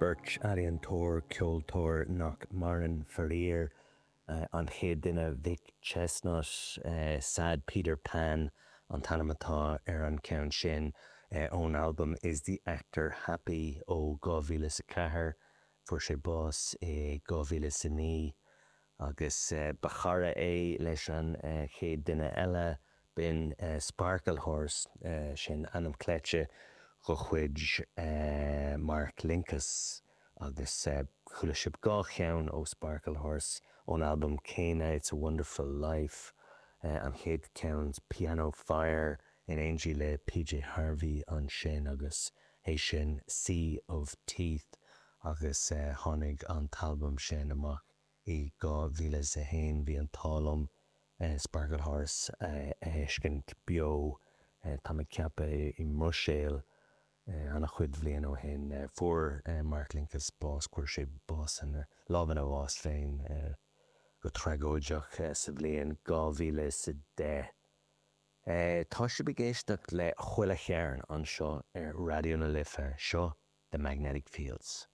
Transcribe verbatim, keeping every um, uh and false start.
Beirt ealaíontóir, ceoltóir nach maireann, faraor. An chéad duine, Vic Chesnutt, Sad Peter Pan an t-ainm atá ar an ceann sin ón albam Is the Actor Happy ó dhá mhíle is a ceathair. Fuair sé bás i dhá mhíle is a naoi agus ba chara é leis an chéad duine eile, b'in Sparklehorse, sin ainm cleite de chuid Mark Linkous agus chuala sibh dhá cheann ó Sparklehorse ón albam céanna, It's a Wonderful Life, an chéad cheann Piano Fire in éindí le P J Harvey ansin agus é sin Sea of Teeth agus tháinig an t-albam sin amach i dhá mhíle is a haon. Bhí an t-ádh liom Sparklehorse a fheiscint beo, tá mé ag ceapadh i mBruiséil an-chuid bhliain ó shin. Fuair Mark Linkous bás, chuir sé bás ina lámh ina bhás féin go tragóideach sa bhliain dhá mhíle is a deich. Tá sibh ag éisteacht le Chuile Chearn anseo ar Raidió na Life. Seo The Magnetic Fields.